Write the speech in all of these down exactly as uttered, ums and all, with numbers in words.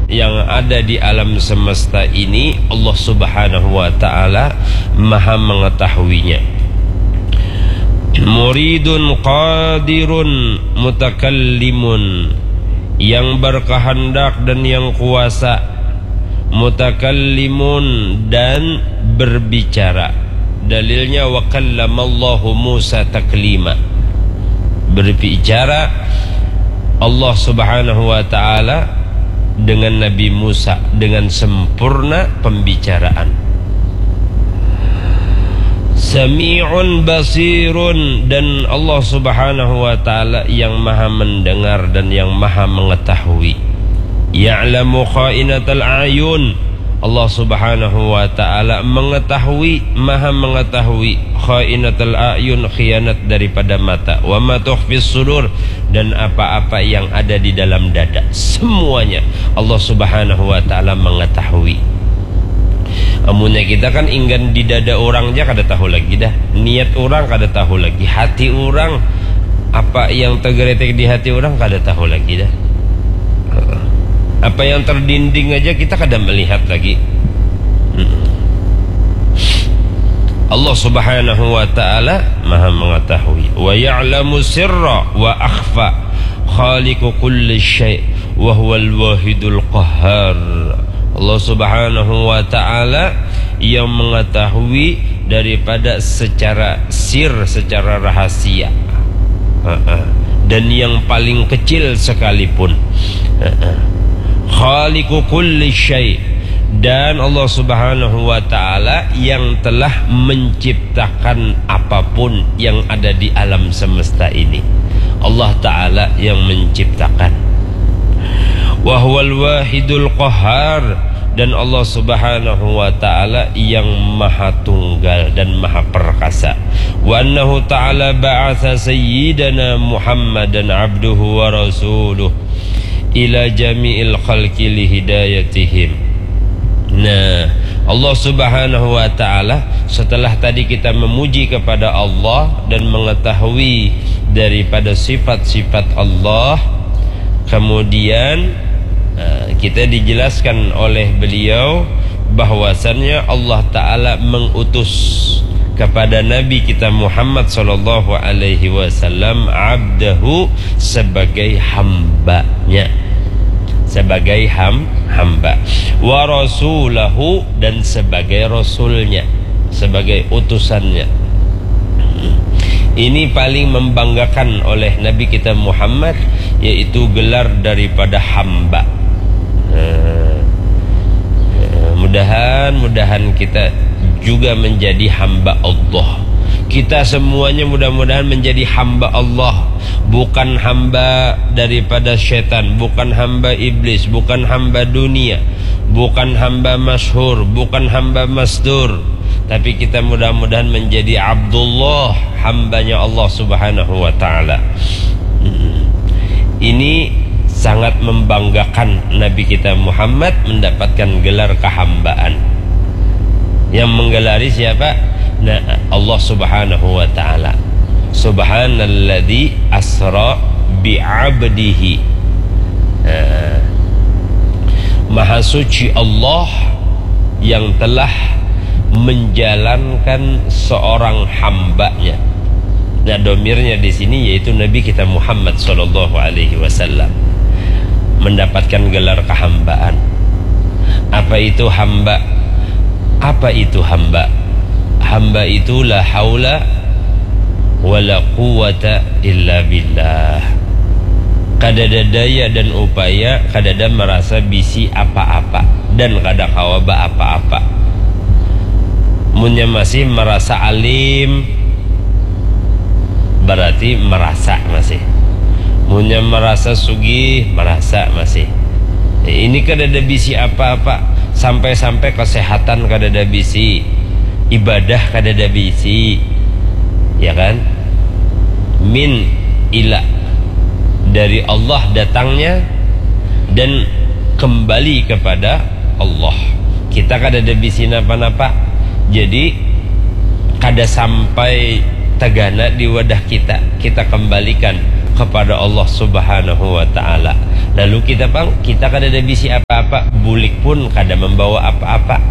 Yang ada di alam semesta ini, Allah Subhanahu wa Ta'ala Maha Mengetahuinya. Muridun qadirun mutakallimun, yang berkehendak dan yang kuasa, mutakallimun, dan berbicara. Dalilnya, wa kallamallahu Musa taklima. Berbicara Allah Subhanahu wa Ta'ala dengan Nabi Musa dengan sempurna pembicaraan. Sami'un basirun, dan Allah Subhanahu wa Ta'ala yang Maha Mendengar dan yang Maha Mengetahui. Ya'lamu kha'inatal a'yun, Allah Subhanahu wa Ta'ala mengetahui, Maha Mengetahui, kha'inatal a'yun, khianat daripada mata, wa ma tukhfis sudur, dan apa-apa yang ada di dalam dada, semuanya Allah Subhanahu wa Ta'ala mengetahui. Amunnya kita kan inggan di dada orang ja kada tahu lagi dah, niat orang kada tahu lagi, hati orang, apa yang tergeletek di hati orang kada tahu lagi dah. Apa yang terdinding aja kita kada melihat lagi. Allah Subhanahu wa Ta'ala Maha Mengetahui. Wa ya'lamu sirra wa akhfa, khaliqu kulli syai, wa huwal wahidul qahhar. Allah Subhanahu wa Ta'ala yang mengetahui daripada secara sir, secara rahasia. Dan yang paling kecil sekalipun. Khaliqu kulli syai. Dan Allah Subhanahu wa Ta'ala yang telah menciptakan apapun yang ada di alam semesta ini. Allah Ta'ala yang menciptakan. Wa huwal wahidul qahhar, dan Allah Subhanahu wa Ta'ala yang Maha Tunggal dan Maha Perkasa. Wa annahu ta'ala ba'atsa sayyidana Muhammadan abduhu wa rasuluh ila jami'il khalqi lihidayatihim. Nah, Allah Subhanahu wa Ta'ala, setelah tadi kita memuji kepada Allah dan mengetahui daripada sifat-sifat Allah, kemudian, eh, kita dijelaskan oleh beliau bahwasannya Allah Ta'ala mengutus kepada Nabi kita Muhammad sallallahu alaihi wasallam abdahu, sebagai hambanya, sebagai ham, hamba, wa rasulahu, dan sebagai rasulnya, sebagai utusannya. Ini paling membanggakan oleh Nabi kita Muhammad, yaitu gelar daripada hamba. Eh, eh, mudahan, mudahan kita juga menjadi hamba Allah. Kita semuanya mudah-mudahan menjadi hamba Allah, bukan hamba daripada setan, bukan hamba iblis, bukan hamba dunia, bukan hamba masyhur, bukan hamba mastur, tapi kita mudah-mudahan menjadi Abdullah, hambanya Allah Subhanahu wa Ta'ala. Ini sangat membanggakan Nabi kita Muhammad mendapatkan gelar kehambaan. Yang menggelari siapa? Nah, Allah Subhanahu wa Ta'ala. Subhanalladzi asra bi'abdihi. Nah, Maha suci Allah yang telah menjalankan seorang hambanya. Nah, domirnya di sini yaitu Nabi kita Muhammad sallallahu alaihi wasallam mendapatkan gelar kehambaan. Apa itu hamba? Apa itu hamba? Hamba itu la haula wala quwwata illa billah. Kadada daya dan upaya, kadada merasa bisi apa-apa dan kada kawa ba apa-apa. Munnya masih merasa alim, berarti merasa masih. Munnya merasa sugih, merasa masih. Ini kadada bisi apa-apa, sampai-sampai kesehatan kadada bisi, ibadah kadada bisi, ya kan? Min ila, dari Allah datangnya dan kembali kepada Allah. Kita kadada bisi napa-napa. Jadi kada sampai tagana di wadah kita, kita kembalikan kepada Allah Subhanahu wa Ta'ala. Lalu kita, pang, kita kada ada bisi apa-apa, bulik pun kada membawa apa-apa.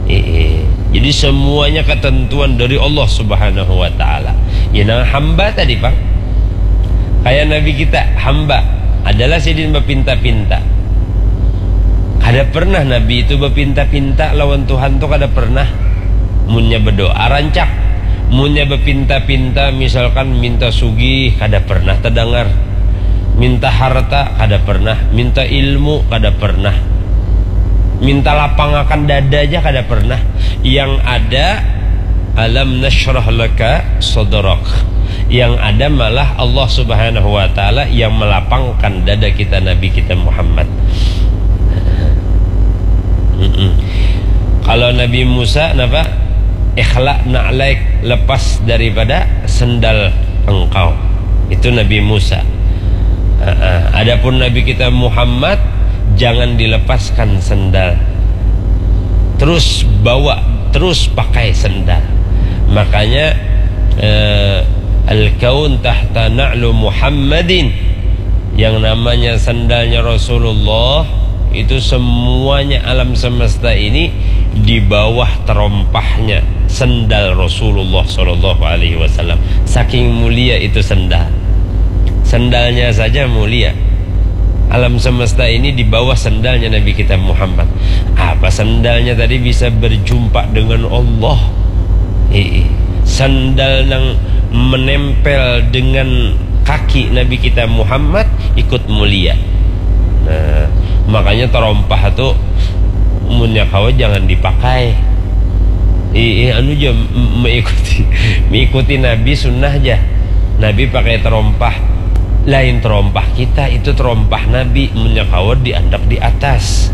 Eh, eh. Jadi, semuanya ketentuan dari Allah Subhanahu wa Ta'ala. Ya, nang hamba tadi, pang. Kayak Nabi kita, hamba. Adalah sidin bapinta-pinta. Kada pernah Nabi itu bapinta-pinta lawan Tuhan tu, kada pernah. Munnya berdoa, rancak. Munnya bapinta-pinta, misalkan minta sugih, kada pernah terdengar. Minta harta, kada pernah. Minta ilmu, kada pernah. Minta lapangakan dada aja kada pernah. Yang ada, alam nasyrah laka sadrak. Yang ada malah Allah Subhanahu wa Ta'ala yang melapangkan dada kita, Nabi kita Muhammad. Mm-mm. Kalau Nabi Musa, napa? Ikhla na'laik, lepas daripada sendal engkau. Itu Nabi Musa. Ha-ha. Adapun Nabi kita Muhammad, jangan dilepaskan sendal. Terus bawa, terus pakai sendal. Makanya, eh, al-kaun tahta na'lu Muhammadin. Yang namanya sendalnya Rasulullah itu, semuanya alam semesta ini di bawah terompahnya sendal Rasulullah Sallallahu Alaihi Wasallam. Saking mulia itu sendal. Sendalnya saja mulia. Alam semesta ini di bawah sendalnya Nabi kita Muhammad. Apa sendalnya tadi bisa berjumpa dengan Allah? Ii. Sendal nang menempel dengan kaki Nabi kita Muhammad ikut mulia. Nah, makanya terompah tu, munnya kawa jangan dipakai. Ii, anu ja, m-, mengikuti, mengikuti Nabi sunnah ja. Nabi pakai terompah. Lain terompah kita, itu terompah Nabi. Munnya kawa diandak di atas.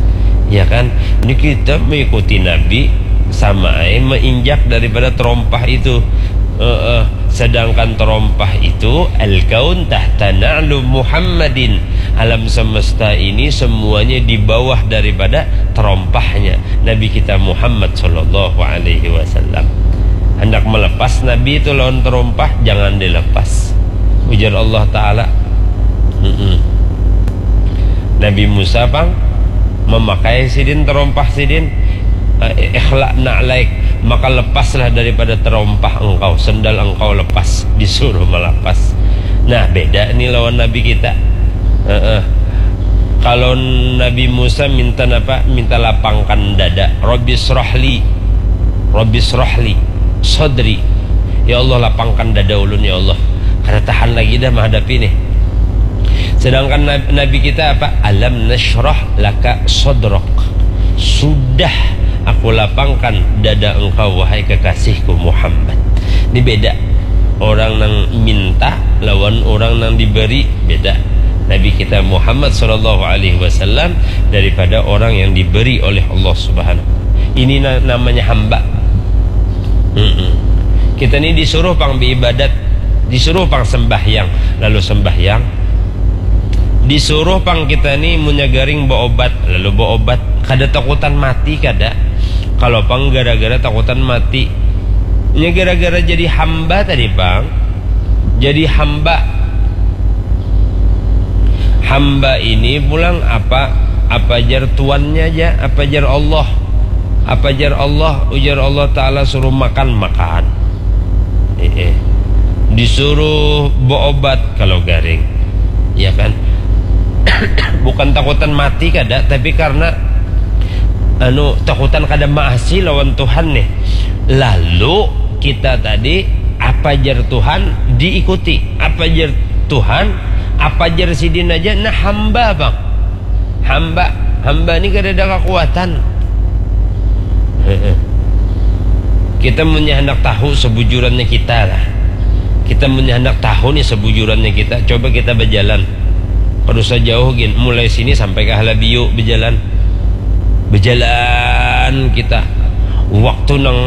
Ya kan? Ini kita mengikuti Nabi, sama ai menginjak daripada terompah itu. Heeh. Sedangkan terompah itu, al-kaun tahta na'lu Muhammadin. Alam semesta ini semuanya di bawah daripada terompahnya Nabi kita Muhammad Sallallahu Alaihi Wasallam. Hendak melepas Nabi itu lawan terompah, jangan dilepas. Ujar Allah Ta'ala. Mm-mm. Nabi Musa, pang, memakai sidin terompah sidin, eh, ikhla na'laik, maka lepaslah daripada terompah engkau, sendal engkau lepas, disuruh melepas. Nah, beda ni lawan Nabi kita. Heeh. Kalau Nabi Musa minta napa? Minta lapangkan dada. Rabbi srohli. Rabbi srohli. Sodri. Ya Allah, lapangkan dada ulun, ya Allah. Kada tahan lagi dah menghadapi nih. Sedangkan Nab-, Nabi kita apa? Alam nasyrah laka sodrok. Sudah aku lapangkan dada engkau, wahai kekasihku Muhammad. Ini beda. Orang nang minta lawan orang nang diberi, beda. Nabi kita Muhammad Sallallahu Alaihi Wasallam daripada orang yang diberi oleh Allah Subhanahu. Ini na-, namanya hamba. Mm-mm. Kita ni disuruh pang beribadat, disuruh pang sembahyang, lalu sembahyang. Disuruh pang kita ni munnya garing berobat, lalu berobat. Kada takutan mati, kada. Kalau pang gara-gara takutan mati, nya gara-gara jadi hamba tadi, pang. Jadi hamba. Hamba ini pulang apa, apa jar tuannya aja, apa jar Allah. Apa jar Allah? Ujar Allah Ta'ala, suruh makan, makan. Eh, eh. Disuruh berobat kalau garing. Ya kan? Bukan takutan mati kada, tapi karena, anu, takutan kada maasi lawan Tuhan nih. Lalu kita tadi, apa jar Tuhan diikuti, apa jar Tuhan, apa jar sidin aja, nah, hamba, pang. Hamba, hamba ni kada ada kekuatan. Heeh. Kita munnya handak tahu sebujurannya kita lah. Kita munnya handak tahu nih sebujurannya kita, coba kita berjalan. Kada usah jauh gin, mulai sini sampai ke Halabiu berjalan. Berjalan kita. Waktu nang,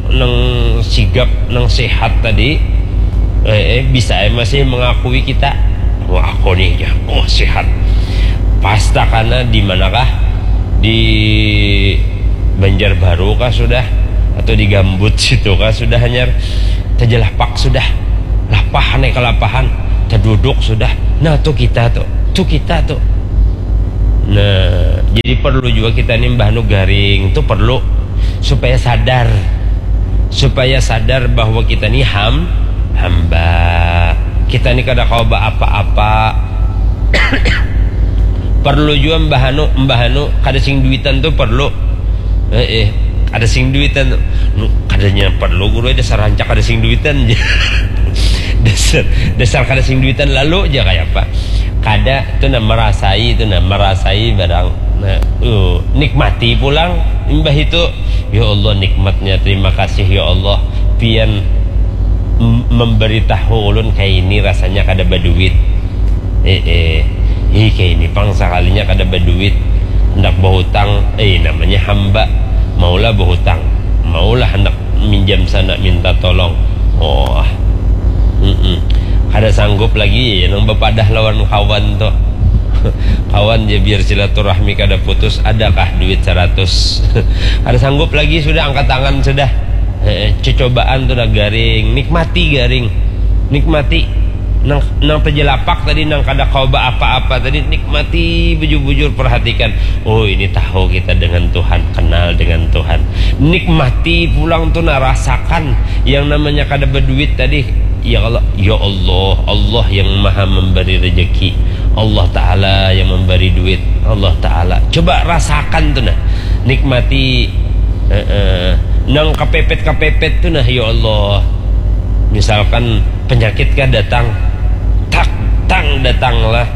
nang sigap, nang sehat tadi, eh, eh, bisa ai masih mengakui kita. Wah, aku nih, ya, oh, sehat. Pas takana di manakah? Di Banjarbaru kah sudah? Atau di Gambut situ kah sudah, hanyar? Taja lapak sudah. Lapahan ai kalapahan. Taduduk sudah. Nah, tu kita tu. Tu kita tu. Nah, jadi perlu juga kita ni mbah nu garing tu perlu supaya sadar. Supaya sadar bahwa kita ni ham hamba. Kita ni kada kawa baapa-apa. Perlu jua mbah anu, mbah anu kada sing duitan tu perlu. Eh, eh, kada sing duitan tu. Nu, kadanya perlu guru, dasar rancak kada sing duitan. Dasar, dasar kada sing duitan lalu aja kayak apa. Kada tu nah, merasai tu nah, merasai barang. Nah, uh, nikmati pulang imbah itu. Ya Allah, nikmatnya, terima kasih ya Allah. Pian m- memberitahu ulun kayak ini rasanya kada baduit. Eh, eh. Ih, kayak ini pang sekalinya kada baduit. Hendak berhutang, eh, namanya hamba. Maulah berhutang. Maulah hendak minjam sana minta tolong. Oh. Mm-mm. Kada sanggup lagi ya nang bepadah lawan kawan tuh. Kawan ya, biar silaturahmi kada putus, adakah duit seratus? Kada sanggup lagi, sudah angkat tangan sudah. Eh, cecobaan tuh dah garing, nikmati garing. Nikmati nang nang terjelapak tadi, nang kada kau apa-apa tadi, nikmati bujur-bujur, perhatikan. Oh, ini tahu kita dengan Tuhan, kenal dengan Tuhan. Nikmati pulang tuh nah, rasakan yang namanya kada berduit tadi. Ya Allah, ya Allah, Allah yang maha memberi rezeki. Allah Ta'ala yang memberi duit. Allah Ta'ala. Coba rasakan tuh nah. Nikmati. Eh, eh. Nang kepepet-kepepet tuh nah, ya Allah. Misalkan penyakit kah datang. Tak, tang datanglah.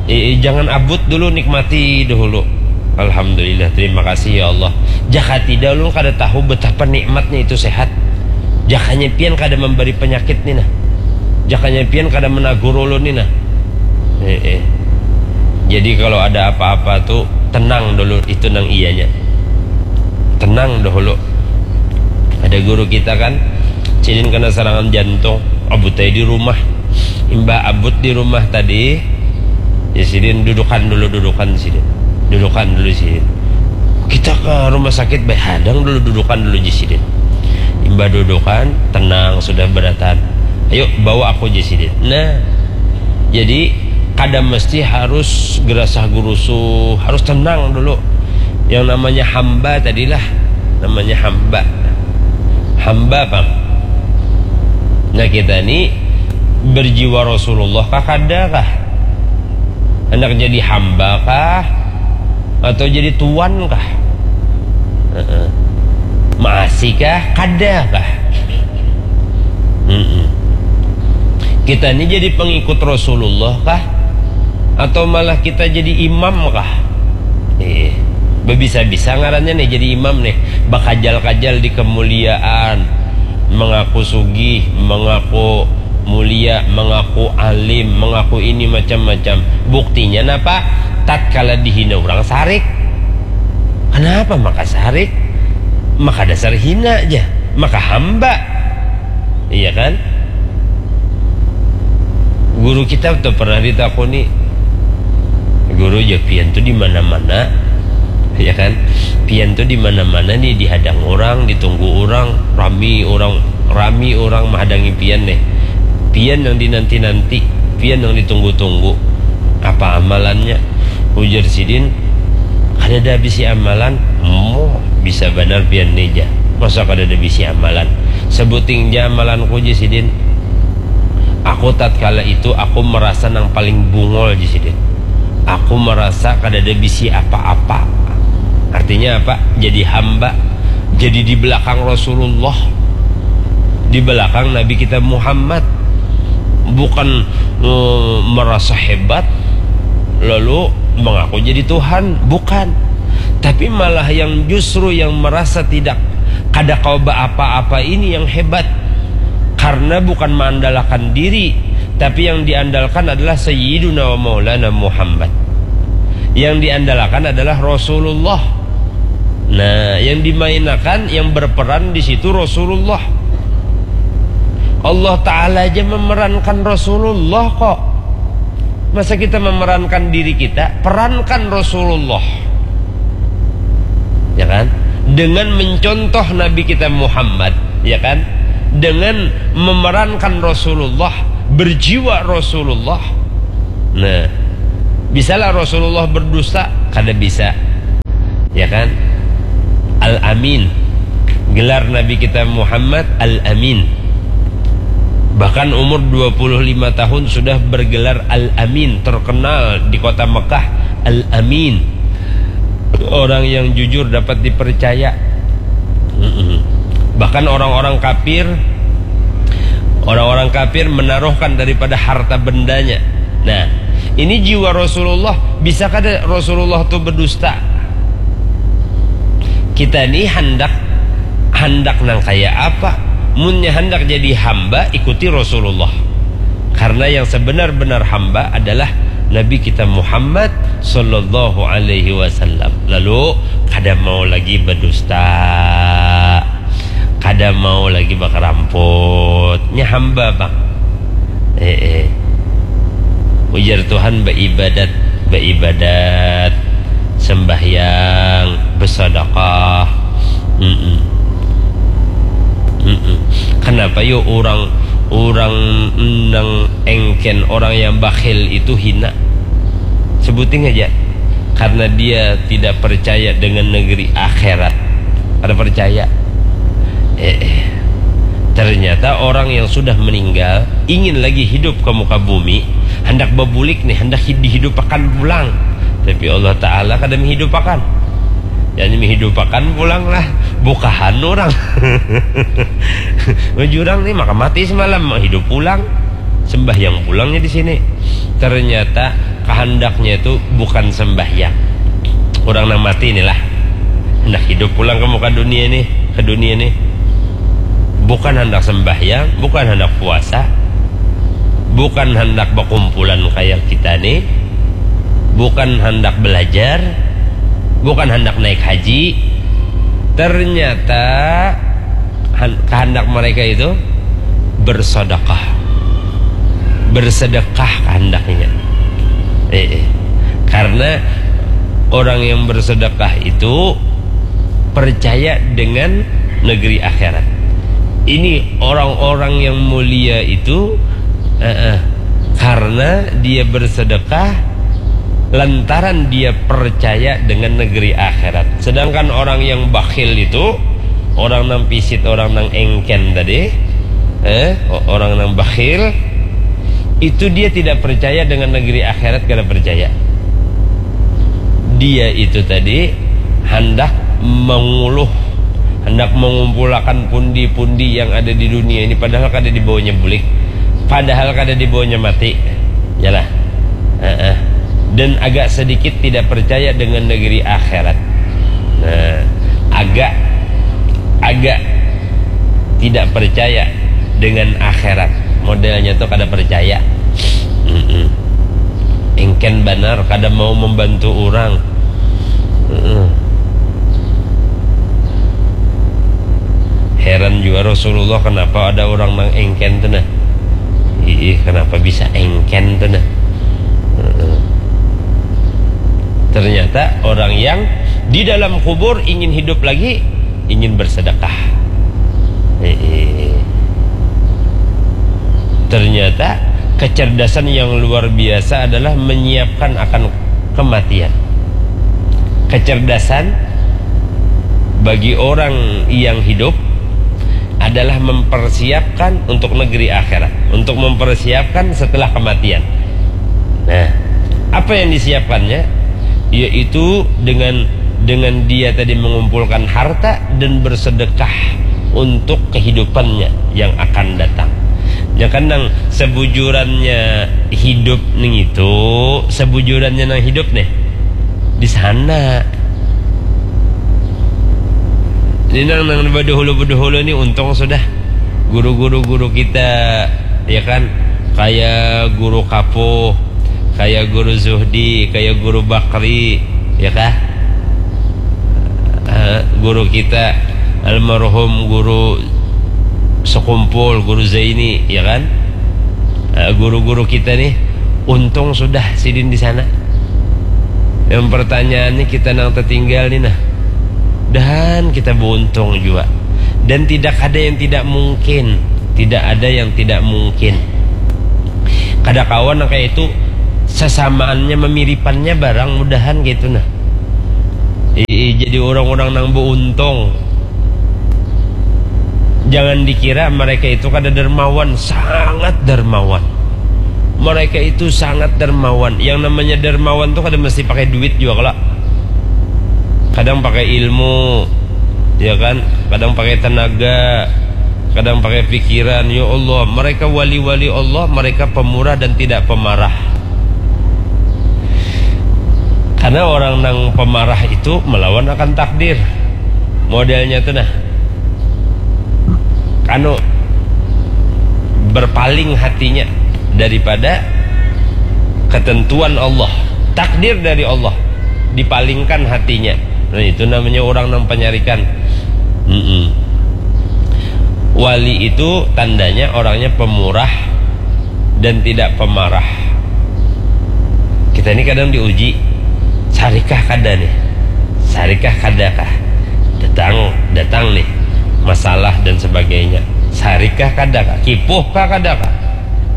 Eh, eh, jangan abut dulu, nikmati dahulu. Alhamdulillah, terima kasih ya Allah. Jaka tidak, ulun kada tahu betapa nikmatnya itu sehat. Jakanya pian kada memberi penyakit nih nah. Jakanya pian kada menagur ulun nih nah. Eh, eh. Jadi kalau ada apa-apa tuh tenang dulu, itu nang iyanya. Tenang dahulu. Ada guru kita kan, sidin kena serangan jantung, abut aja di rumah. Imbah abut di rumah tadi, ya sidin dudukan dulu, dudukan sidin. Dudukan dulu sidin. Kita ke rumah sakit, baik hadang dulu, dudukan dulu ji sidin. Imbah dudukan, tenang, sudah beratan. Ayo, bawa aku ji sidin. Nah, jadi kada mesti harus gerasah gerusuh, harus tenang dulu. Yang namanya hamba tadilah, namanya hamba. Hamba, pang. Nah, kita ni berjiwa Rasulullah kah, kada kah? Hendak jadi hamba kah? Atau jadi tuan kah? Heeh. Masih kah? Kada kah? Mm-mm. Kita ni jadi pengikut Rasulullah kah? Atau malah kita jadi imam kah? Eh, bebisa-bisa ngarannya nih jadi imam nih. Bakajal-kajal di kemuliaan, mengaku sugih, mengaku mulia, mengaku alim, mengaku ini macam-macam. Buktinya napa? Tatkala dihina orang sarik. Kenapa maka sarik? Maka dasar hina aja. Maka hamba. Iya kan? Guru kita tuh pernah ditakuni, "Guru, ya pian tuh di mana-mana, ya kan? Pian tuh di mana-mana nih, dihadang orang, ditunggu orang, rami orang, rami orang menghadangi pian nih. Pian yang dinanti-nanti, pian yang ditunggu-tunggu. Apa amalannya?" Ujar sidin, "Kada ada bisi amalan." "Mo, bisa banar pian nih, ja. Masa kada ada bisi amalan?" "Sebuting ja amalanku," ji sidin. "Aku tatkala itu, aku merasa nang paling bungol," ji sidin. "Aku merasa kada ada bisi apa-apa." Artinya apa? Jadi hamba. Jadi di belakang Rasulullah. Di belakang Nabi kita Muhammad. Bukan, eh, merasa hebat, lalu mengaku jadi Tuhan. Bukan. Tapi malah yang justru yang merasa tidak kada kau apa-apa ini yang hebat. Karena bukan mengandalkan diri, tapi yang diandalkan adalah Sayyiduna wa Maulana Muhammad. Yang diandalkan adalah Rasulullah. Nah, yang dimainakan, yang berperan di situ Rasulullah. Allah Ta'ala aja memerankan Rasulullah kok. Masa kita memerankan diri kita? Perankan Rasulullah. Ya kan? Dengan mencontoh Nabi kita Muhammad, ya kan? Dengan memerankan Rasulullah, berjiwa Rasulullah. Nah, bisalah Rasulullah berdusta? Kada bisa. Ya kan? Al-Amin. Gelar Nabi kita Muhammad Al-Amin. Bahkan umur dua puluh lima tahun sudah bergelar Al-Amin, terkenal di kota Mekah, Al-Amin. Orang yang jujur, dapat dipercaya. Mm-mm. Bahkan orang-orang kafir, orang-orang kafir menaruhkan daripada harta bendanya. Nah, ini jiwa Rasulullah. Bisa kada Rasulullah tu berdusta? Kita ni handak, handak nang kaya apa? Munnya handak jadi hamba, ikuti Rasulullah. Karena yang sebenar-benar hamba adalah Nabi kita Muhammad sallallahu alaihi wasallam. Lalu, kada mau lagi berdusta, kada mau lagi bakaramput. Nya hamba, Bang. Eh, eh. Ujar Tuhan, baibadat, baibadat, sembahyang, bersedekah. Mm-mm. Mm-mm. Kenapa yo orang, orang nang engken, orang yang bakhil itu hina? Sebuting aja. Karena dia tidak percaya dengan negeri akhirat. Kada percaya. Eh, eh. Ternyata orang yang sudah meninggal ingin lagi hidup ke muka bumi, hendak bebulik nih, hendak hi-, dihidupakan pulang. Tapi Allah Ta'ala kada menghidupakan. Jadi menghidupakan pulang lah, bukahan orang. Jurang nih, maka mati semalam, hidup pulang. Sembahyang pulangnya di sini. Ternyata kehendaknya itu bukan sembahyang. Orang nang mati inilah hendak hidup pulang ke muka dunia nih, ke dunia nih. Bukan hendak sembahyang, bukan hendak puasa, bukan hendak berkumpulan kayak kita nih, bukan hendak belajar, bukan hendak naik haji. Ternyata han-, kehendak mereka itu bersedekah. Bersedekah kehendaknya. Eh, eh. Karena orang yang bersedekah itu percaya dengan negeri akhirat. Ini orang-orang yang mulia itu, eh, eh, karena dia bersedekah lantaran dia percaya dengan negeri akhirat. Sedangkan orang yang bakhil itu, orang nang pisit, orang nang engken tadi, eh, o-, orang nang bakhil, itu dia tidak percaya dengan negeri akhirat, kada percaya. Dia itu tadi hendak menguluh, hendak mengumpulakan pundi-pundi yang ada di dunia ini, padahal kada dibawanya bulik, padahal kada dibawanya mati. Yalah. Heeh. Dan agak sedikit tidak percaya dengan negeri akhirat. Nah, agak, agak tidak percaya dengan akhirat. Modelnya tuh kada percaya. Mm-mm. Engken banar, kada mau membantu orang. Mm-mm. Heran juga Rasulullah, kenapa ada orang nang engken tuh, nah. Ih, kenapa bisa engken tuh, nah. Mm-mm. Ternyata orang yang di dalam kubur ingin hidup lagi, ingin bersedekah. Eh, eh. Ternyata kecerdasan yang luar biasa adalah menyiapkan akan kematian. Kecerdasan bagi orang yang hidup adalah mempersiapkan untuk negeri akhirat, untuk mempersiapkan setelah kematian. Nah, apa yang disiapkannya? Yaitu dengan, dengan dia tadi mengumpulkan harta dan bersedekah untuk kehidupannya yang akan datang. Ya kan, nang sebujurannya hidup ning itu, sebujurannya nang hidup nih di sana. Ini nang, nang badahulu-badahulu ni untung sudah. Guru-guru, guru kita, ya kan, kaya guru Kapuh, kaya guru Zuhdi, kaya guru Bakri, ya kah? Eh, guru kita almarhum guru Sekumpul, guru Zaini, ya kan? Eh, guru-guru kita nih, untung sudah sidin di sana. Yang pertanyaannya kita nang tertinggal nih, nah. Dan kita beruntung juga. Dan tidak ada yang tidak mungkin. Tidak ada yang tidak mungkin. Kada kawan nang kaya itu, sasamaannya, mamiripannya barang, mudahan kaitu nah. Ii, jadi orang-orang nang beuntung. Jangan dikira mereka itu kada dermawan, sangat dermawan. Mereka itu sangat dermawan. Yang namanya dermawan tu kada mesti pakai duit jua kalo. Kadang pakai ilmu, ya kan? Kadang pakai tenaga, kadang pakai pikiran. Ya Allah, mereka wali-wali Allah, mereka pemurah dan tidak pemarah. Karena orang nang pemarah itu melawan akan takdir. Modelnya tu nah, anu, berpaling hatinya daripada ketentuan Allah, takdir dari Allah, dipalingkan hatinya. Nah, itu namanya orang nang penyarikan. Mm-mm. Wali itu tandanya orangnya pemurah dan tidak pemarah. Kita ini kadang diuji, sarikah kada nih? Sarikah kada kah? Datang, datang nih masalah dan sebagainya. Sarikah kada kah? Kipuh kah kada kah?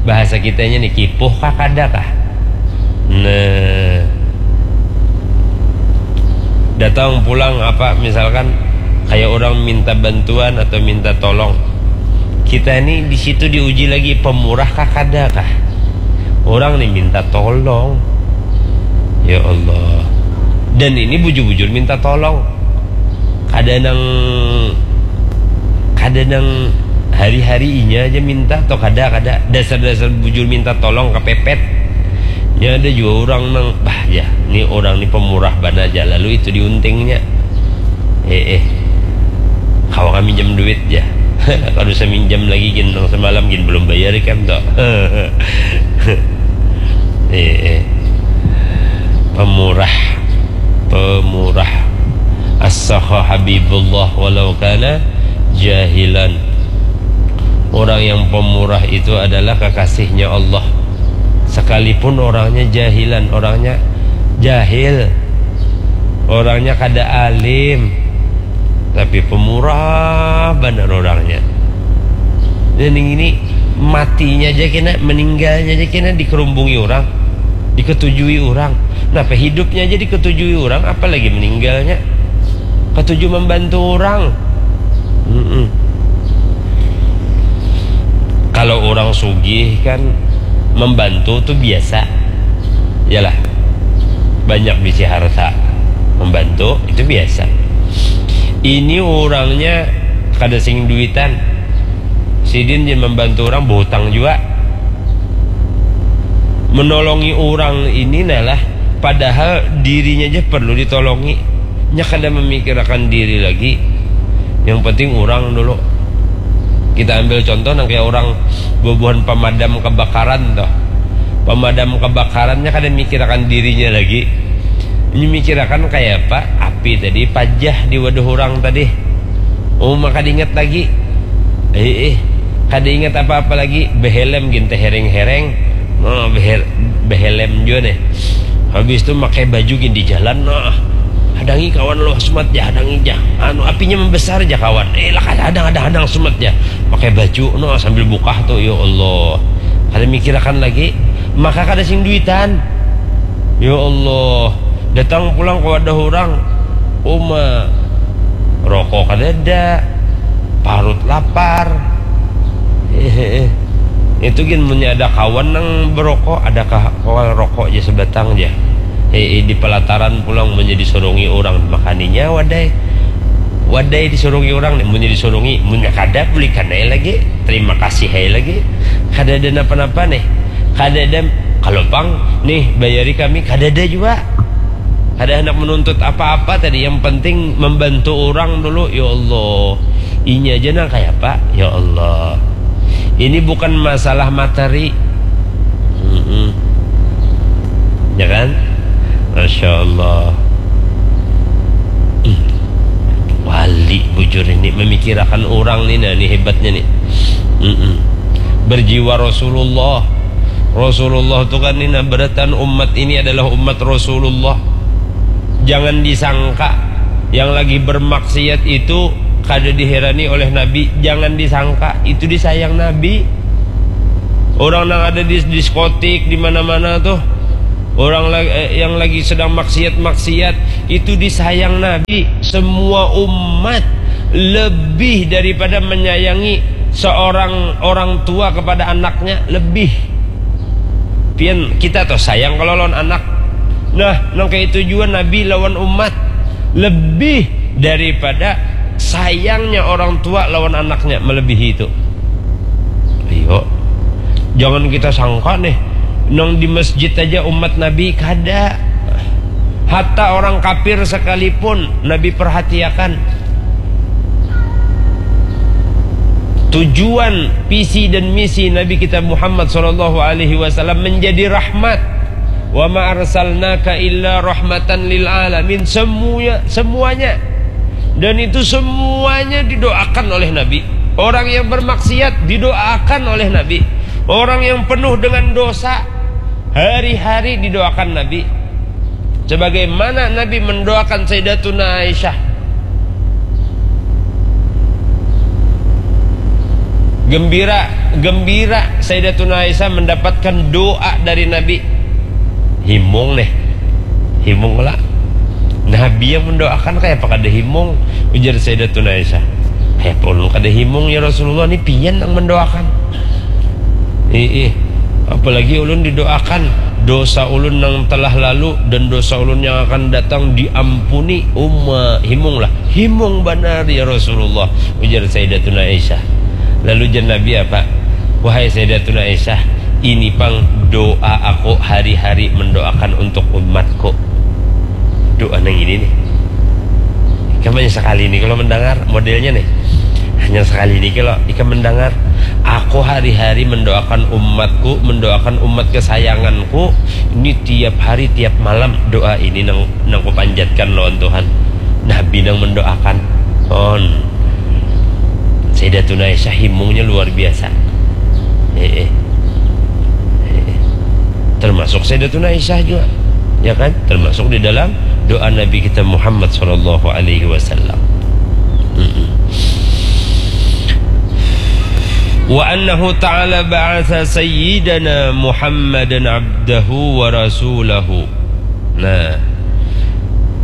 Bahasa kitanya nih, kipuh kah kada kah? Nah, datang pulang apa, misalkan kayak orang minta bantuan atau minta tolong, kita ini di situ diuji lagi, pemurah kah kada kah? Orang nih minta tolong, ya Allah, dan ini bujur-bujur minta tolong. Kada nang, kada nang hari-hari inya aja minta atau kada, kada. Dasar-dasar bujur minta tolong kepepet. Nya ada jua orang nang, bah, ya, ni orang ni pemurah banar ja, lalu itu diuntingnya. Eh, eh. Kawa kami minjam duit ja. Kada usah minjam lagi gin, nang semalam gin belum bayar ikam tu. Eh, eh. Pemurah. Pemurah. As-sakha habibullah walau kana jahilan. Orang yang pemurah itu adalah kekasihnya Allah. Sekalipun orangnya jahilan, orangnya jahil, orangnya kada alim, tapi pemurah banar orangnya. Dan yang ini, matinya aja kena, meninggalnya aja kena dikerumbungi orang, diketujui orang. Napa hidupnya aja diketujui orang, apalagi meninggalnya. Ketuju membantu orang. Mm-mm. Kalau orang sugih kan membantu tu biasa. Yalah. Banyak bisi harta. Membantu itu biasa. Ini orangnya kada sing duitan. Sidin je membantu orang, berhutang juga. Menolongi orang ini nah lah, padahal dirinya aja perlu ditolongi. Nya kada memikirakan diri lagi. Yang penting orang dulu. Kita ambil contoh nang kayak orang bubuhan pemadam kebakaran tuh. Pemadam kebakarannya kada mikirakan dirinya lagi. Ini mikirakan kayak apa? Api tadi pajah di wadah orang tadi. Oh, maka diingat lagi. Eh, eh. Kada ingat apa-apa lagi. Behelm gin tehereng-hereng. Nah, beher, behelm jua nih. Habis tu makai baju gin di jalan, nah. Hadangi kawan lo, sumat ja, hadangi ja. Anu, apinya membesar ja kawan. Eh, lah, hadang, hadang, hadang, sumat ja. Pakai baju, nah, sambil bukah tu, ya Allah. Kada mikirakan lagi. Maka kada sing duitan. Ya Allah. Datang pulang ke wadah orang. Uma. Rokok kada ada. Parut lapar. Itu gin, munnya ada kawan nang berokok, ada kah kawan rokok ja sebatang ja. Eh, eh, di pelataran pulang, munnya disurungi orang, makaninya wadai. Wadai disurungi orang nih, munnya disurungi, munnya kada, bulikan ai lagi. Terima kasih ai lagi. Kada ada napa-napa nih. Kada ada, kalau pang nih, bayari kami, kada ada jua. Kada hendak menuntut apa-apa tadi, yang penting membantu orang dulu. Ya Allah, ini aja nang kayak apa? Ya Allah, ini bukan masalah materi. Mm-mm. Ya kan? Masya Allah. Hmm. Wali bujur ini memikirakan orang nih, nah, ini hebatnya nih. Mm-mm. Berjiwa Rasulullah. Rasulullah tu kan ini, nah, beratan umat ini adalah umat Rasulullah. Jangan disangka yang lagi bermaksiat itu kada diherani oleh Nabi. Jangan disangka, itu disayang Nabi. Orang nang ada di diskotik di mana-mana tuh, orang la- eh, yang lagi sedang maksiat-maksiat, itu disayang Nabi. Semua umat lebih daripada menyayangi seorang orang tua kepada anaknya, lebih. Pian, kita tuh sayang kalau lawan anak. Nah, nang kayak itu juga Nabi lawan umat, lebih daripada sayangnya orang tua lawan anaknya, melebihi itu. Iyo. Jangan kita sangka nih, nang di masjid aja umat Nabi kada. Hatta orang kafir sekalipun Nabi perhatiakan. Tujuan, visi dan misi Nabi kita Muhammad sallallahu alaihi wasallam menjadi rahmat. "Wa ma arsalnaka illa rahmatan lil alamin." Semuanya, semuanya. Dan itu semuanya didoakan oleh Nabi. Orang yang bermaksiat didoakan oleh Nabi. Orang yang penuh dengan dosa hari-hari didoakan Nabi. Sebagaimana Nabi mendoakan Sayyidatuna Aisyah. Gembira, gembira Sayyidatuna Aisyah mendapatkan doa dari Nabi. Himung nih. Himung lah. Nabi yang mendoakan, kayak apa kada himung? Ujar Sayyidatuna Aisyah. Kayak apa ulun kada himung, ya Rasulullah, ini pian yang mendoakan. Ih, ih. Apalagi ulun didoakan dosa ulun yang telah lalu dan dosa ulun yang akan datang diampuni. Uma, himung lah. Himung banar, ya Rasulullah, ujar Sayyidatuna Aisyah. Lalu jar Nabi apa? "Wahai Sayyidatuna Aisyah, ini pang doa aku hari-hari mendoakan untuk umatku." Doa nang ini nih. Ikam hanya sekali ini kalau mendengar modelnya nih. Hanya sekali ini kalau ikam mendengar, "Aku hari-hari mendoakan umatku, mendoakan umat kesayanganku. Ini tiap hari, tiap malam doa ini nang nang kupanjatkan lawan Tuhan." Nabi nang mendoakan. On. Sayyidatuna Aisyah himungnya luar biasa. Eh, eh. Eh, eh. Termasuk Sayyidatuna Aisyah juga. Ya kan? Termasuk di dalam doa Nabi kita Muhammad sallallahu alaihi wasallam. Mm-mm. "Wa annahu ta'ala ba'atha sayyidana Muhammadan abdahu wa rasulahu." Nah,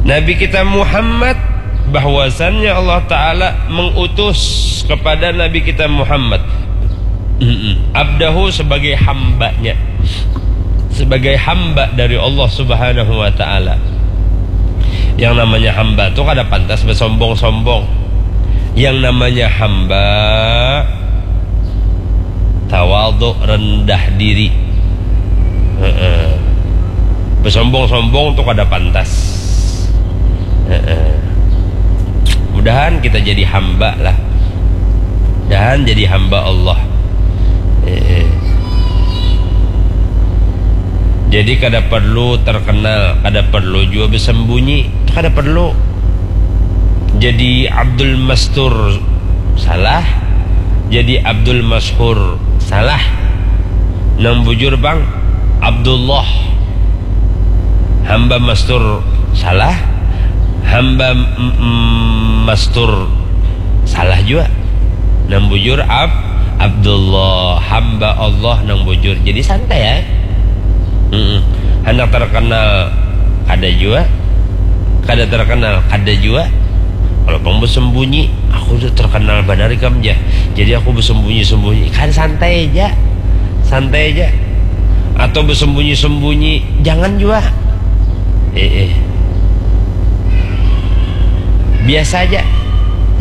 Nabi kita Muhammad, bahwasannya Allah Ta'ala mengutus kepada Nabi kita Muhammad, mm-mm, abdahu, sebagai hambanya, sebagai hamba dari Allah Subhanahu wa Ta'ala. Yang namanya hamba tuh kada pantas bersombong-sombong. Yang namanya hamba tawaduk, rendah diri. Heeh. Bersombong-sombong tuh kada pantas. Heeh. Mudahan kita jadi hamba lah. Mudahan jadi hamba Allah. Heeh. Jadi kada perlu terkenal, kada perlu juga bersembunyi, kada perlu. Jadi Abdul Mastur salah, jadi Abdul Masyhur salah. Nang bujur bang Abdullah, hamba Mastur salah, hamba m- m- Mastur salah juga. Nang bujur Ab Abdullah, hamba Allah nang bujur. Jadi santai ya. Mm-mm. Handak terkenal kada jua, kada terkenal kada jua. Kalau pang bersembunyi, aku tu terkenal banar ikam ja. Jadi aku bersembunyi-sembunyi, kan santai ja, santai ja. Atau bersembunyi-sembunyi, jangan jua. Eh, eh. Biasa aja.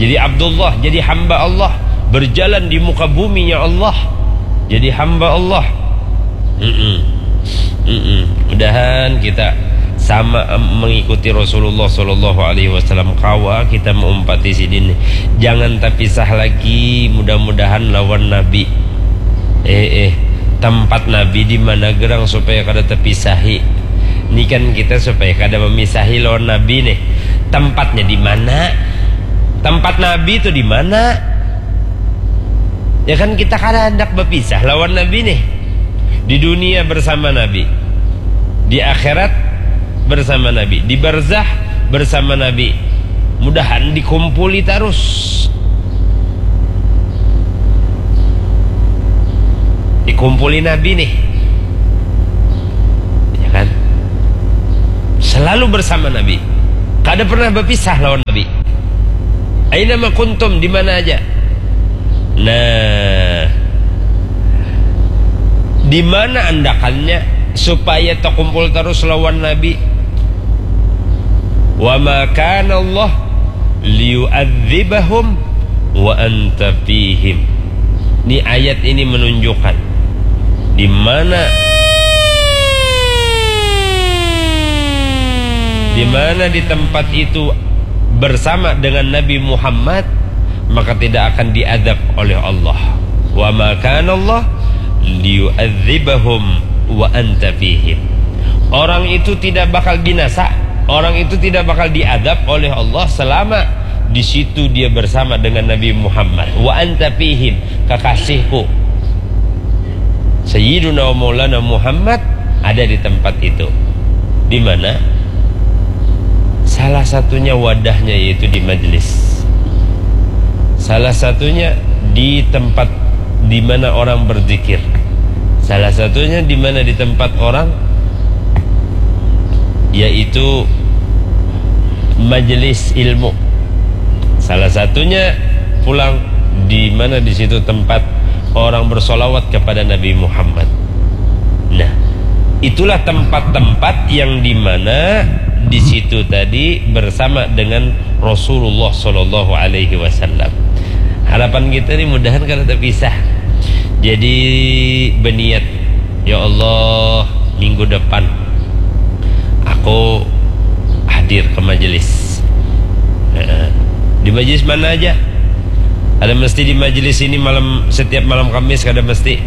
Jadi Abdullah, jadi hamba Allah, berjalan di muka buminya Allah. Jadi hamba Allah. Mm-mm. Mm-mm. Mudahan kita sama, em, mengikuti Rasulullah sallallahu alaihi wasallam, kawa kita meumpati sidin. Jangan tapisah lagi, mudah-mudahan, lawan Nabi. Eh, eh, tempat Nabi di mana gerang supaya kada tapisahi? Ni kan kita supaya kada memisahi lawan Nabi nih. Tempatnya di mana? Tempat Nabi itu di mana? Ya kan, kita kada hendak berpisah lawan Nabi nih. Di dunia bersama Nabi, di akhirat bersama Nabi, di barzah bersama Nabi. Mudahan dikumpuli terus. Dikumpuli Nabi nih. Ya kan? Selalu bersama Nabi. Kada pernah berpisah lawan Nabi. Aina ma kuntum, di mana aja. Nah, di mana andakannya supaya terkumpul terus lawan Nabi? Wa ma kana Allah liyu'adzibahum wa anta fihim. Ini ayat ini menunjukkan di mana, di mana di tempat itu bersama dengan Nabi Muhammad, maka tidak akan diadab oleh Allah. Wa ma kana Allah liyu'adzibahum wa anta fihim. Orang itu tidak bakal binasa, orang itu tidak bakal diadab oleh Allah selama di situ dia bersama dengan Nabi Muhammad. Wa anta fihim, kekasihku. Sayyiduna wa Maulana Muhammad ada di tempat itu. Di mana? Salah satunya wadahnya yaitu di majelis. Salah satunya di tempat di mana orang berzikir. Salah satunya di mana, di tempat orang, yaitu majelis ilmu. Salah satunya pulang di mana, di situ tempat orang bersolawat kepada Nabi Muhammad. Nah, itulah tempat-tempat yang di mana di situ tadi bersama dengan Rasulullah Shallallahu Alaihi Wasallam. Harapan kita ni mudahan kada terpisah. Jadi, berniat, "Ya Allah, minggu depan aku hadir ke majelis." Heeh. Di majelis mana aja? Ada mesti di majelis ini malam, setiap malam Kamis, kada mesti.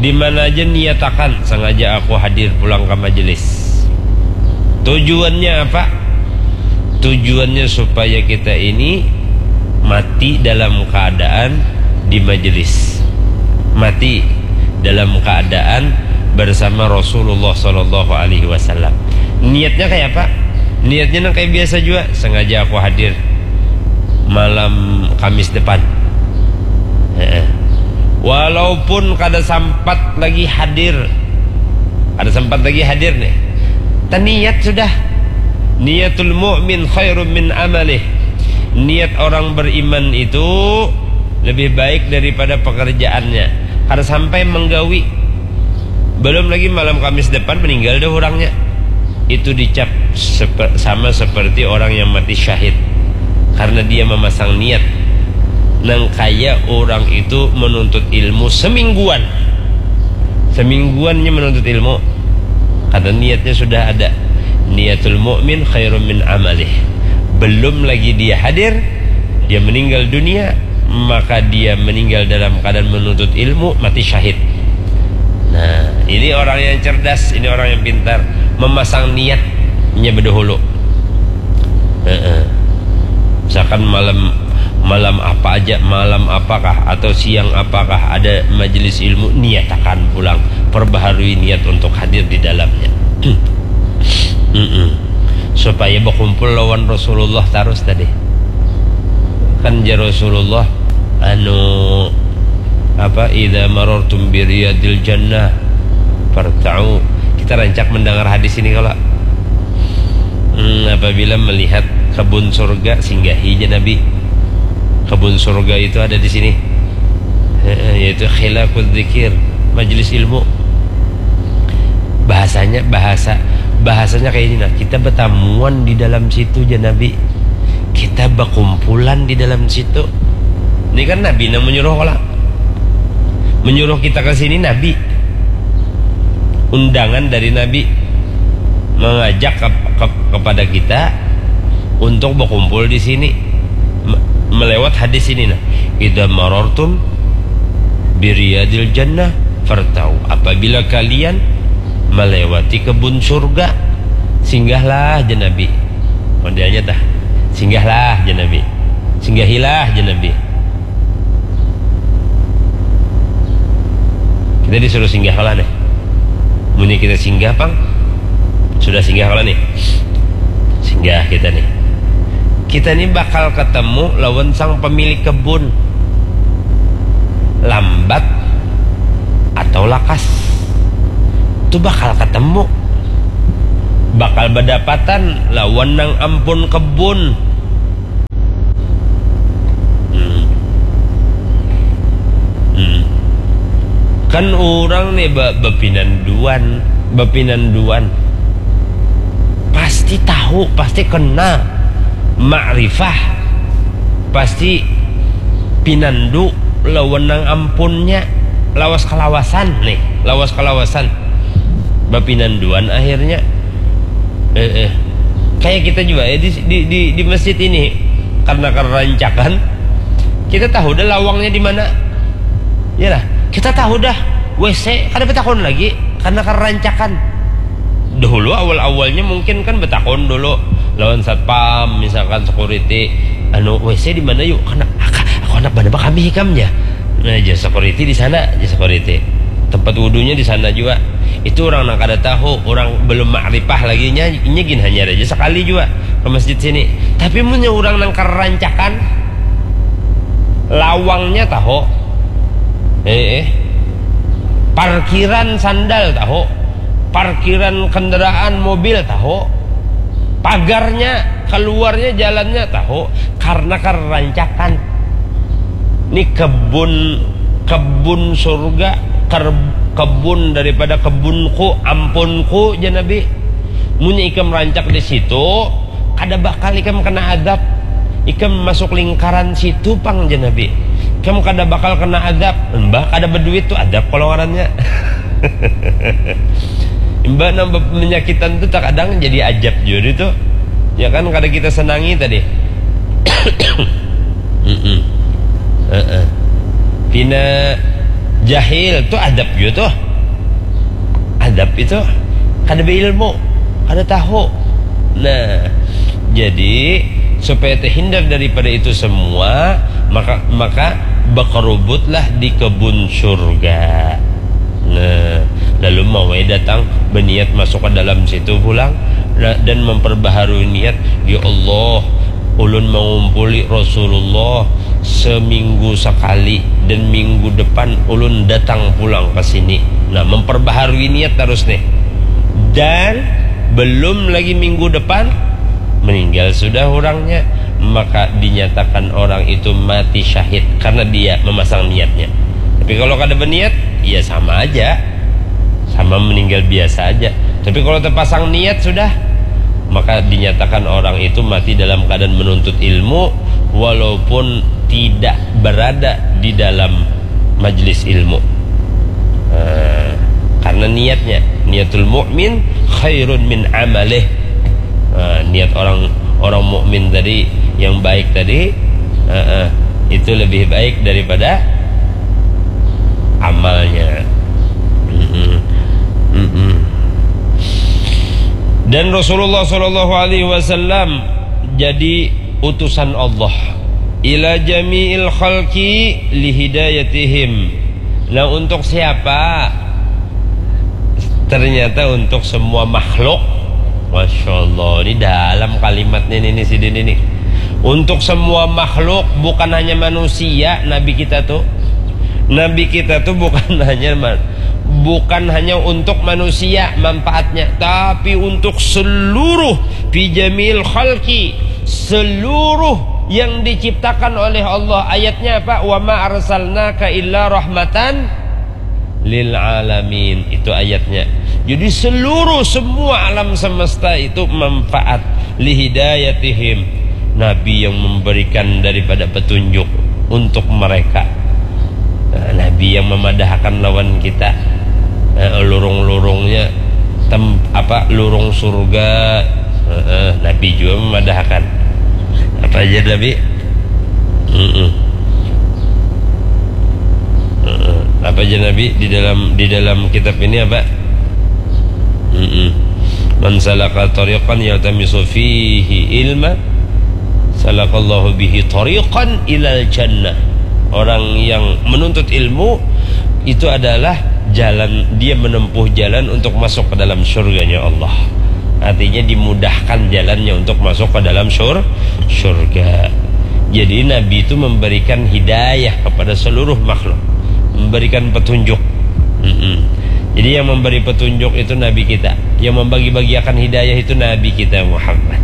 Di mana aja niatakan, "Sengaja aku hadir pulang ke majelis." Tujuannya apa? Tujuannya supaya kita ini mati dalam keadaan di majelis, mati dalam keadaan bersama Rasulullah Shallallahu Alaihi Wasallam. Niatnya kayak apa? Niatnya nang kayak biasa juga. "Sengaja aku hadir malam Kamis depan." Heeh. Walaupun kada sempat lagi hadir, kada sempat lagi hadir nih, taniat sudah. Niatul mu'min khairum min amalih. Niat orang beriman itu lebih baik daripada pekerjaannya. Kada sampai menggawi. Belum lagi malam Kamis depan meninggal dah orangnya. Itu dicap sepe-, sama seperti orang yang mati syahid. Karena dia memasang niat. Nang kaya orang itu menuntut ilmu semingguan. Semingguannya menuntut ilmu. Kata niatnya sudah ada. Niatul mu'min khairum min amalih. Belum lagi dia hadir, dia meninggal dunia, maka dia meninggal dalam keadaan menuntut ilmu, mati syahid. Nah, ini orang yang cerdas, ini orang yang pintar, memasang niatnya bedahulu. Heeh. Misalkan malam, malam apa aja, malam apakah atau siang apakah ada majelis ilmu, niatakan pulang, perbaharui niat untuk hadir di dalamnya. Mm-mm. Supaya berkumpul lawan Rasulullah terus tadi. Kan jar Rasulullah, anu, apa, "Idza marartum bi riyadil jannah farta'u." Kita rancak mendengar hadis ini kalau, hmm, apabila melihat kebun surga, singgahi aja Nabi. Kebun surga itu ada di sini. Heeh, yaitu khilaqul dzikir, majelis ilmu. Bahasanya, bahasa, bahasanya kayak ini, nah, kita bertamuan di dalam situ aja Nabi. Kita berkumpulan di dalam situ. Ini kan Nabi nang menyuruh kalau menyuruh kita ke sini, Nabi. Undangan dari Nabi mengajak ke, ke, kepada kita untuk berkumpul di sini. Me-, melewat hadis ini, nah, "Idza marartum bi riyadil jannah farta'u." Apabila kalian melewati kebun surga, singgahlah, jar Nabi. Modelnya tah, singgahlah, jar Nabi. Singgahilah, jar Nabi. Kita disuruh singgah kalau nih. Munnya kita singgah pang, sudah singgah kalau nih, singgah kita nih, kita nih bakal ketemu lawan sang pemilik kebun. Lambat atau lakas. Tu bakal ketemu. Bakal badapatan lawan nang ampun kebun. Hmm. Hmm. Kan urang nih ba- bapinanduan, bapinanduan. Pasti tahu, pasti kenal. Makrifah. Pasti pinandu lawan nang ampunnya. Lawas kalawasan nih, lawas kalawasan. Bapinanduan akhirnya. Eh, eh. Kayak kita juga ya di, di, di, di masjid ini. Karena kerancakan, kita tahu dah lawangnya di mana. Ya lah, kita tahu dah W C, kada betakon lagi karena kerancakan. Dahulu awal-awalnya mungkin kan betakon dulu lawan satpam, misalkan security, anu, "W C di mana yuk?" Karena aku anak mana kami hikamnya. Nah, jadi security di sana, jadi security. Tempat wudhunya di sana juga. Itu orang nang kada tahu, orang belum makrifah lagi nya, inya gin hanyar aja sekali juga ke masjid sini. Tapi munnya orang nang kerancakan, lawangnya tahu. Eh, eh. Parkiran sandal tahu. Parkiran kendaraan mobil tahu. Pagarnya, keluarnya, jalannya tahu. Karena kerancakan. Ini kebun, kebun surga, ker- kebun daripada kebunku, ampunku, jar Nabi. Munnya ikam rancak di situ, kada bakal ikam kena adab. Ikam masuk lingkaran situ pang, jar Nabi. Ikam kada bakal kena adab. Mbah kada beduit tu adab kalau ngarannya. Mbah nang be- menyakitan tu terkadang jadi ajab jua tu. Ya kan, kada kita senangi tadi. Mm-mm. Heeh. Pina jahil tu adab jua tu. Adab itu kada beilmu, kada tahu. Nah, jadi supaya terhindar daripada itu semua, maka maka bekerubutlah di kebun surga. Nah, lalu mawai datang berniat masuk ke dalam situ pulang, nah, dan memperbaharui niat, "Ya Allah, ulun mengumpuli Rasulullah seminggu sekali dan minggu depan ulun datang pulang ke sini." Nah, memperbaharui niat terus nih. Dan belum lagi minggu depan, meninggal sudah orangnya, maka dinyatakan orang itu mati syahid karena dia memasang niatnya. Tapi kalau kada berniat, ya sama aja. Sama meninggal biasa aja. Tapi kalau terpasang niat sudah, maka dinyatakan orang itu mati dalam keadaan menuntut ilmu, walaupun tidak berada di dalam majlis ilmu. Nah, karena niatnya, niatul mukmin khairun min amalih. Nah, niat orang orang mukmin tadi yang baik tadi, eh, eh, itu lebih baik daripada amalnya. Mm-mm. Mm-mm. Dan Rasulullah Shallallahu Alaihi Wasallam jadi utusan Allah ila jami'il khalqi lihidayatihim. Nah, untuk siapa? Ternyata untuk semua makhluk. Masya Allah, ini dalam kalimatnya ini, ini sidin ini. Untuk semua makhluk, bukan hanya manusia, Nabi kita tuh. Nabi kita tuh bukan hanya man- bukan hanya untuk manusia manfaatnya, tapi untuk seluruh, fi jamil khalqi, seluruh yang diciptakan oleh Allah. Ayatnya apa? "Wa ma arsalnaka illa rahmatan lil alamin." Itu ayatnya. Jadi seluruh, semua alam semesta itu manfaat, lihidayatihim. Nabi yang memberikan daripada petunjuk untuk mereka. Nah, Nabi yang memadahkan lawan kita, eh, lurung-lurungnya tem- apa, lurung surga. Eh, eh, Nabi juga memadahkan. Apa aja Nabi? Mm-mm. Mm-mm. Apa aja Nabi di dalam di dalam kitab ini apa? Mm-mm. "Man salaka tariqan yaltamisu fihi ilma, salakallahu bihi tariqan ilal jannah." Orang yang menuntut ilmu itu adalah jalan, dia menempuh jalan untuk masuk ke dalam surganya Allah. Artinya dimudahkan jalannya untuk masuk ke dalam sur surga. Jadi Nabi itu memberikan hidayah kepada seluruh makhluk, memberikan petunjuk. Hmm. Jadi yang memberi petunjuk itu Nabi kita. Yang membagi-bagiakan hidayah itu Nabi kita Muhammad.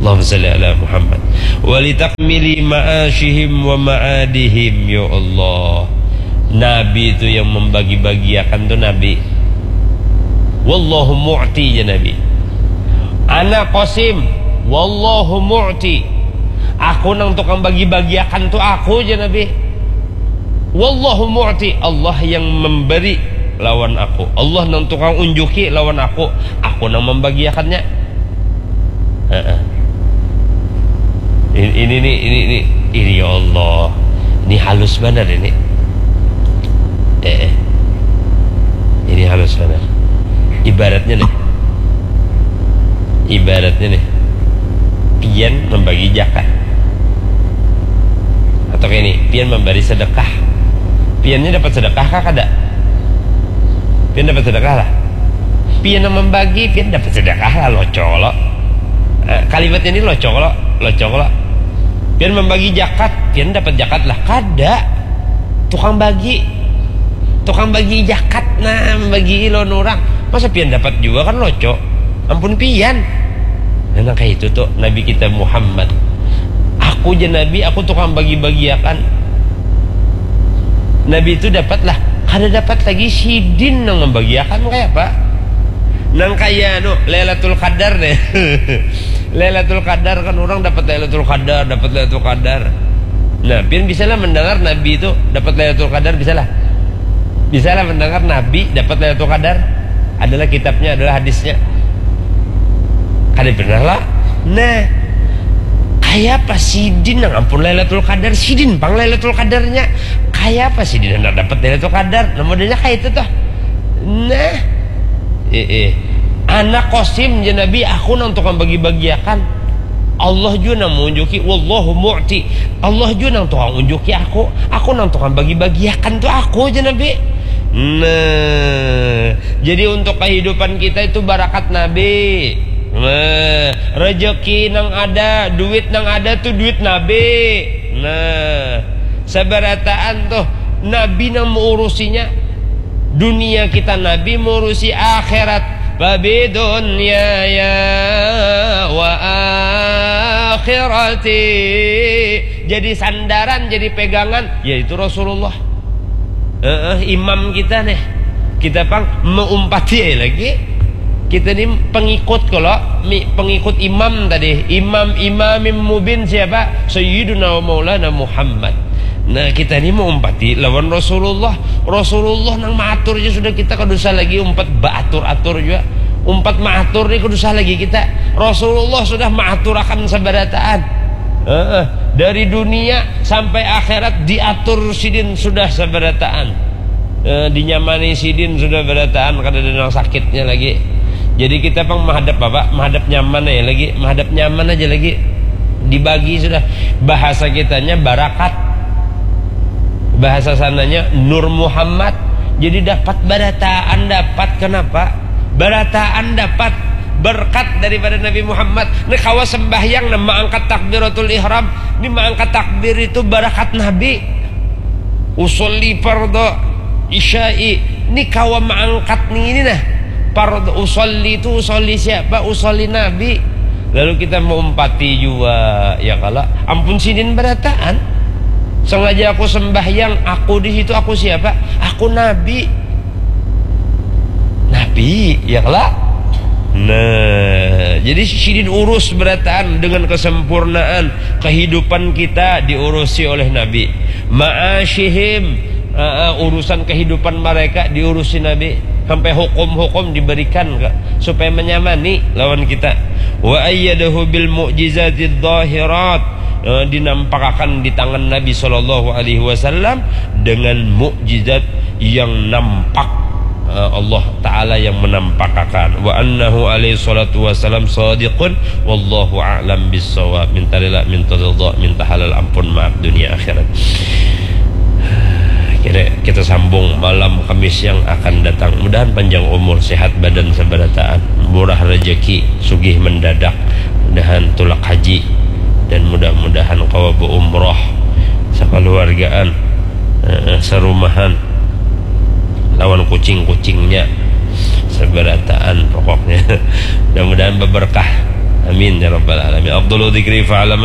Allahumma salli ala Muhammad. Walitakmili ma'ashihim wa ma'adihim. Ya Allah. Nabi itu yang membagi-bagiakan tuh Nabi. Wallahu mu'ti, ya Nabi. Ana qasim. Wallahu mu'ti. Aku nang tukang bagi-bagiakan tuh aku, ya Nabi. Wallahu mu'ti, Allah yang memberi lawan aku. Allah nang tukang unjuki lawan aku. Aku nang membagiakannya. Heeh. Ini, ini nih, ini, ini, ini ya Allah. Ini halus benar ini. Eh, eh. Ini halus benar. Ibaratnya nih. Ibaratnya nih. Pian membagi zakat. Atau kayak ini, pian memberi sedekah. Piannya dapat sedekah kah kada? Pian dapat sedekah lah. Pian yang membagi, pian dapat sedekah lah, loco lo. Eh, kalimatnya ini loco lo, loco lo. Pian membagi zakat, pian dapat zakat lah, kada. Tukang bagi. Tukang bagi zakat, nah, membagi lawan orang. Masa pian dapat juga kan loco. Ampun pian. Nah, nang kayak itu tuh Nabi kita Muhammad. Aku je Nabi, aku tukang bagi-bagiakan. Nabi itu dapatlah, kada dapat lagi sidin nang membagiakan kayak apa? Nang kayak anu, Lailatul Qadar deh. Lailatul Qadar kan orang dapat Lailatul Qadar, dapat Lailatul Qadar. Nah, pian bisalah mendengar Nabi itu dapat Lailatul Qadar, bisalah. Bisalah mendengar Nabi dapat Lailatul Qadar. Adalah kitabnya, adalah hadisnya. Kada pernah lah. Nah, kayak apa sidin nang ampun Lailatul Qadar, sidin pang Lailatul Qadarnya. Kayak apa sidin hendak dapat Lailatul Qadar? Nah, modelnya kayak itu tuh. Nah, eh, eh. Anak kosim je Nabi, aku nang tukang bagi-bagiakan. Allah jua nang mengunjuki, wallahu mu'ti. Allah jua nang tukang unjuki aku. Aku nang tukang bagi-bagiakan tuh aku je Nabi. Nah, jadi untuk kehidupan kita itu barakat Nabi. Nah, rezeki nang ada, duit nang ada tuh duit Nabi. Nah, sabarataan tuh Nabi nang mengurusinya. Dunia kita Nabi mengurusi akhirat. Babi dunia ya wa akhirati. Jadi sandaran, jadi pegangan, yaitu Rasulullah. Heeh, imam kita nih. Kita pang meumpati aja lagi. Kita ni pengikut kalau mi-, pengikut imam tadi. Imam, imamim mubin siapa? Sayyiduna wa maulana Muhammad. Nah, kita ni meumpati lawan Rasulullah. Rasulullah nang maatur aja sudah, kita kada usah lagi umpat baatur-atur juga. Umpat maatur ni kada usah lagi kita. Rasulullah sudah maaturakan sabarataan. Heeh, dari dunia sampai akhirat diatur sidin sudah sabarataan. Eh, dinyamani sidin sudah barataan, kada ada nang sakitnya lagi. Jadi kita pang mahadap apa? Mahadap nyaman aja lagi, mahadap nyaman aja lagi. Dibagi sudah. Bahasa kitanya barakat. Bahasa sananya Nur Muhammad. Jadi dapat barataan, dapat. Kenapa? Barataan dapat berkat daripada Nabi Muhammad. Ni kawa sembahyang, nah, maangkat takbiratul ihram. Ni maangkat takbir itu barakat Nabi. Usolli fardo isya'i. Ni kawa maangkat ni ini nah. Fardo usolli itu usolli siapa? Usolli Nabi. Lalu kita meumpati jua, ya kalo. Ampun sidin barataan. Sengaja aku sembahyang, aku di situ, aku siapa? Aku Nabi. Nabi, ya kala? Nah, jadi sidin urus barataan dengan kesempurnaan kehidupan kita diurusi oleh Nabi. Ma'asyihim, ah, ah, urusan kehidupan mereka diurusi Nabi. Sampai hukum-hukum diberikan ke, supaya menyamani lawan kita. Wa ayyadahu bil mu'jizatidh dhahirat. Eh, dinampakakan di tangan Nabi sallallahu alaihi wasallam dengan mukjizat yang nampak. Eh, Allah Ta'ala yang menampakakan. Wa annahu alaihi salatu wasallam sadiqun. Wallahu a'lam bissawab. Minta rela, minta ridha, minta halal ampun, maaf dunia akhirat. Kira kita sambung malam Kamis yang akan datang. Mudahan panjang umur, sehat badan sabarataan, murah rezeki, sugih mendadak. Mudahan tulak haji dan mudah-mudahan kawa beumroh sakaluargaan, eh, sarumahan. lawan kucing-kucingnya sabarataan pokoknya. Mudah-mudahan berberkah. Amin ya rabbal alamin. Afdalu dzikri fa'ala man